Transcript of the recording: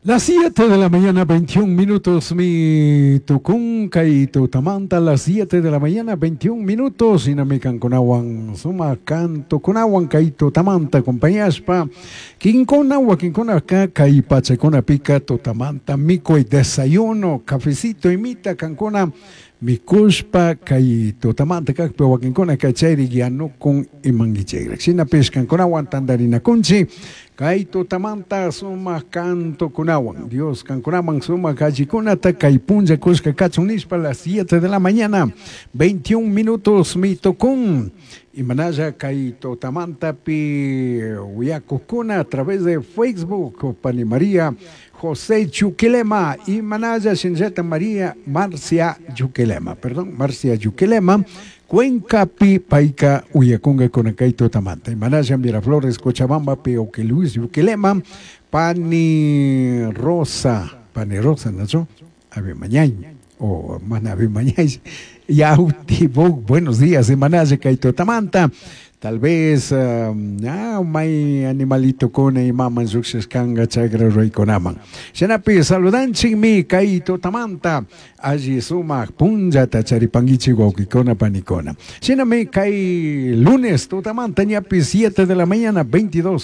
Las 7 de la mañana, 21 minutos, mi tucun kay tutamanta, las 7 de la mañana, 21 minutos, shinami kankunawan sumak cantokunawan kay tutamanta acompañashpa, kinkuna wakinkunaka kay pachakunapika tutamanta mikuy desayuno, cafecito imita kankuna mikushpa kay tutamanta kakpi wakinkunaka chayri yanukun imankichikrak. Shinapish kankunawan tantarinakunchik kay tutamanta sumak cantokunawan Dios kankunaman sumak allikunata kay punlla kushka kachun nishpa las 7 de la mañana 21 minutos mi tukun imanalla kay tutamantapi uyakukuna a través de Facebook pani María José Chuquilema imanalla shinallata María Marcia Chuquilema, perdón, Marcia Chuquilema Cuencapi payka uyakunkakuna kay tutamanta imanalla Miraflores Cochabambapi Oque Luis Chuquilema pani Rosa, pani Rosa, ¿no? Ave mañay o mana ave mañay Yautibuk, buenos días, imanalla kay tutamanta. Tal vez may animalito kuna imaman llushishkanga chagra ruraykunaman. Shinapi saludanchikmi kay tutamanta alli sumak punllata charipankichik wawqikuna panikuna. Shinami kay lunes tutamanta ñapi 7 de la mañana 22.